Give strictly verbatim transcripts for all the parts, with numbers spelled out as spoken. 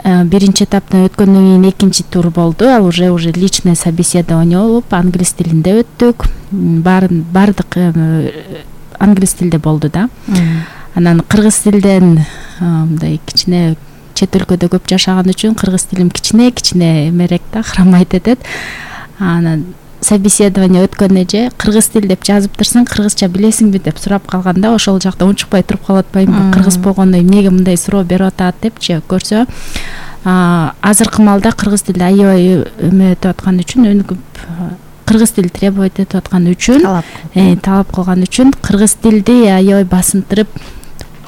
биринчи этаптан өткөндөн кийин экинчи тур болду. Ал уже уже личное собеседование болуп, англис тилинде өттүк. Баарын бардык англис тилде болду да. Анан кыргыз тилден мындай кичине чет өлкөдө көп жашаган үчүн кыргыз тилим кичине кичине эмерээк да, карамайт этет. Анан собеседование өткөн эже кыргыз тил деп жазып турсаң, кыргызча билесиңби деп сурап калганда, ошол жакта унчукпай туруп калып атпаймынбы? Кыргыз болгондо эмнеге мындай суроо берип атат депчи көрсө, азыркы маалда кыргыз тилде аябай эметип аткан үчүн, өнүгүп кыргыз тил требовать этип аткан үчүн, талап кылган үчүн кыргыз тилди аябай басынтырып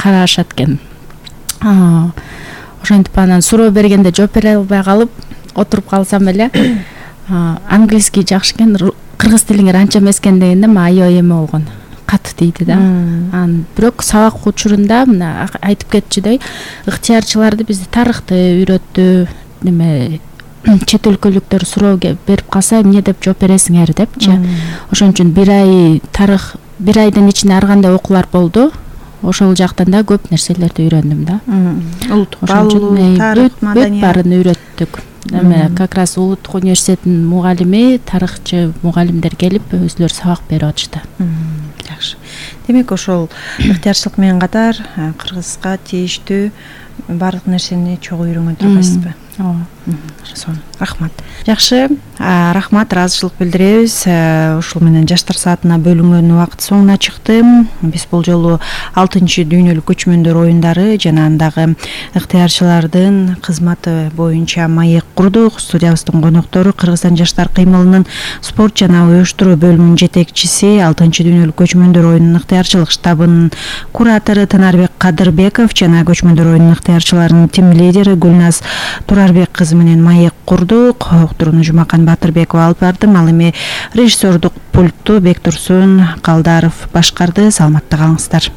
карашат экен. Ошентип анан суроо бергенде жооп бере албай калып отуруп калсам эле, английский жакшы экен, кыргыз тилиңер анча эмес экен дегенде мен аябай эме болгон, катуу тийди да. Анан бирок сабак учурунда мына айтып кетчүдөй, ыктыярчыларды бизди тарыхты үйрөттү, неме чет өлкөлүктөр суроо берип калса эмне деп жооп бересиңер депчи. Ошон үчүн бир ай тарых, бир айдын ичинде ар кандай окуулар болду. Ошол жактан да көп нерселерди үйрөндүм да. Улуттук баалуу, тарых, маданият баарын үйрөттүк. Эме как раз Улуттук университеттин мугалими, тарыхчы мугалимдер келип өзүлөрү сабак берип атышты. Жакшы. Демек ошол ыктыярчылык менен катар кыргызга тийиштүү баардык нерсени чогуу үйрөнгөн тургайсызбы? Ооба. Сонун. Рахмат. Жакшы, рахмат, ыраазычылык билдиребиз. Ушул менен жаштар саатына бөлүнгөн убакыт соңуна чыкты. Биз бул жолу алтынчы дүйнөлүк көчмөндөр оюндары жана андагы ыктыярчылардын кызматы боюнча маек курдук. Студиябыздын коноктору Кыргызстан жаштар кыймылынын спорт жана уюштуруу бөлүмүнүн жетекчиси, алтынчы дүйнөлүк көчмөндөр оюнунун ыктыярчылык штабынын куратору Тынарбек Кадырбеков жана көчмөндөр оюнунун ыктыярчыларынын тим лидери Гүлназ Турарбек кызы менен маек курдук. Уктурууну Жумакан Батырбекова алып бардым. Ал эми режиссердук пультту Бектурсун Калдаров башкарды. Саламатта калыңыздар.